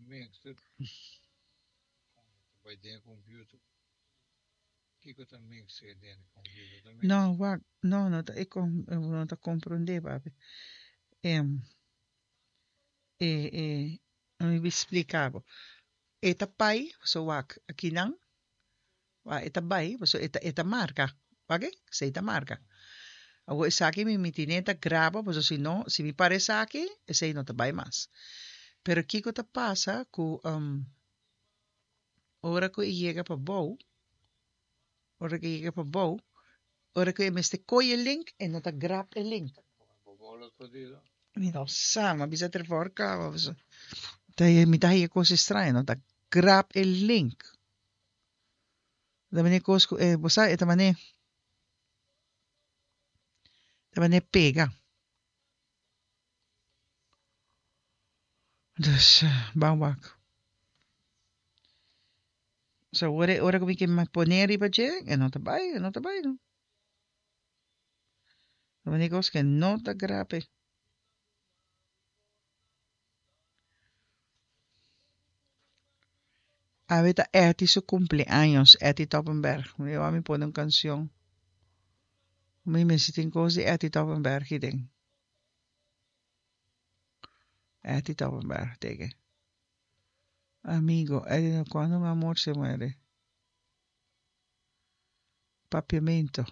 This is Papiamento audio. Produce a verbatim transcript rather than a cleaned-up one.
Mix ta bai den computer. Kiko ta mix den computer? Ta mix. No, wak, no, no ta, e com, no ta comprende, papi. Em, e, e, mi bi splika bo. E ta pai, so wak, akinan, wa, e ta bai, so e ta, e ta marka. Wak, esei ta marka. Awor esaki mi mi tine ta graba, paso si no, si mi para esaki, esei no ta bai mas. Pero kiko ta pasa ku um, ora ku e yega pa bou, ora ku e yega pa bou, ora ku e mester koy e link, e no ta grab e link. Mi no sa, m'a bisa Trevor kaba, paso ta mi ta haya kos extraño, no ta grab e link. Ta mane kos ku e, bo sa, e ta mane, ta mane pega. Dus, ban wak. So ora, ora ku mi ke pone riba dje, e no ta bai, e no ta bai no. Ta mane kos ku e no ta grab e. Awe ta Etty su cumpleaños, Etty Toppenberg. Mi wou mi pone un cancion. Mi mester tin cos di Etty Toppenberg hiden. Etty Toppenberg, teke. Amigo, Etty, cuando un amor se muere. Papiamento.